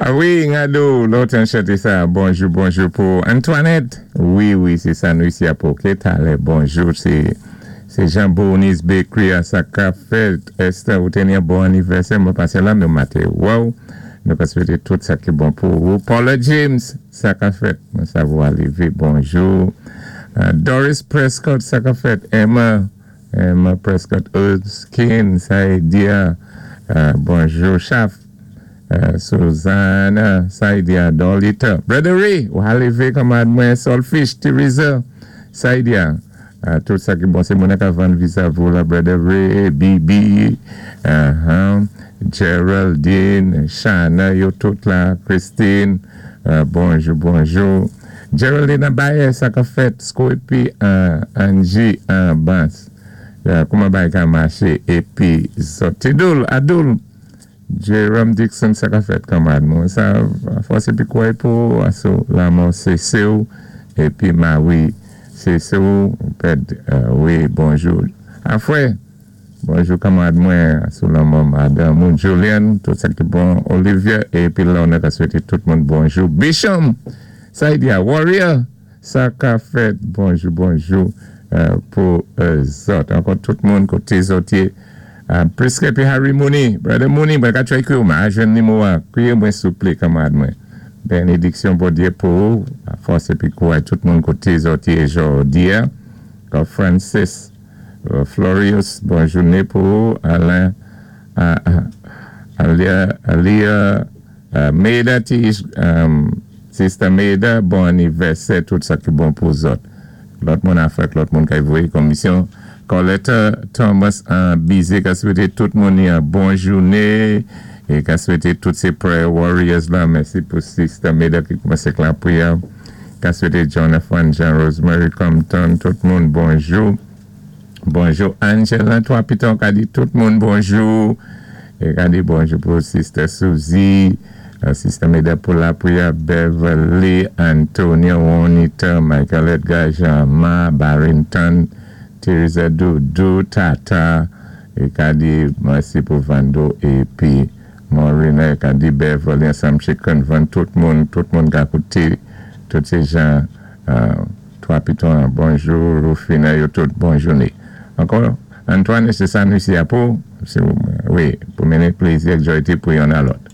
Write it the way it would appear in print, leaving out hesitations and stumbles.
A wi, Ngado, lontan chanté sa. Bonjou, bonjou pou Antoinette. Wi, sé sa nou isi a pou. OK, talè, bonjou. Sé Jean Bonis Bakery a sa ka fèt. Esther, ou té yon bon anivèsè. Mwen pasé la, mwen maté. Wow. Nou ka swété tout sa ki bon pou ou. Paula James, sa ka fèt. Mwen sa ou lévé. Bonjou. Doris Prescott, sa ka fèt. Emma Prescott Erskine, Saïdia. Bonjou, Chaf. Susanna, Saïdia, Dolita. Brother Ray, ou ka lévé kanmarad mwen, Solfish, Teresa, Saïdia. Tout sa ki bon, sé moun ka vann visa vou la, Brother Ray, BB, Geraldine, Shana, yo tout la, Christine, bonjou, bonjou. Geraldine Baye, sa ka fèt, Scorpy, Angie, Bas, kouman bay ka maché, épi Zotidul, Adul, Jerome Dixon, sa ka fèt kanmarad mwen. Sa fòs épi kwè pou aso lanmò sé sè ou, épi Marie, sé sè ou, pèd, wi, bonjou. Afwè, bonjou kanmarad mwen, sou lanmò madanm ou, Julian, tout sa ki bon, Olivia, épi la nou ka swété tout moun bonjou. Bisham, Saïdia, Warrior, sa ka fèt, bonjou, bonjou pou zòt. Ankò tout moun koté zòt yé. Priske épi Harry Mooney, Brother Mooney, mwen ka try ékri ou, ma jwenn nimewo a, ékri mwen souplé, kanmarad mwen. Bénédiksyon Bondyé pou ou, fòs épi kouray tout moun koté zòt yé jòdi a. Francis, Florius, bon jouné pou ou, Alain, Alia, Alia, Maida, Sister Maida, bon anivèsè, tout sa ki bon pou zòt. Lòt moun Afrik, lòt moun ki voyé komisyon. Colette Thomas an bizé ka swété tout moun yon bon jouné é ka swété tout sé prayer warriors la. Mèsi pou Sister Maida ki koumansé ak lapriyè. Ka swété Jonathan, Jean Rosemary Compton, tout moun bonjou. Bonjou Angela, toi piton ka di tout moun bonjou. É ka di bonjou pou Sister Suzy, Sister Maida pou lapriyè, Beverly, Antonio, Juanita, Michael Edgar, Jean-Ma, Barrington, Teresa Doudou, Tata, é ka di mèsi pou Vando épi Maureen, ka di Beverly ansanm Chicken Van, tout moun ka kouté, tout sé jan, toi piton, bonjou, Rufina, yo tout, bon jouné. Ankò, Antoine, sé sa nou isi a pou, wi, pou mennen plézi ak joyté pou youn a lòt.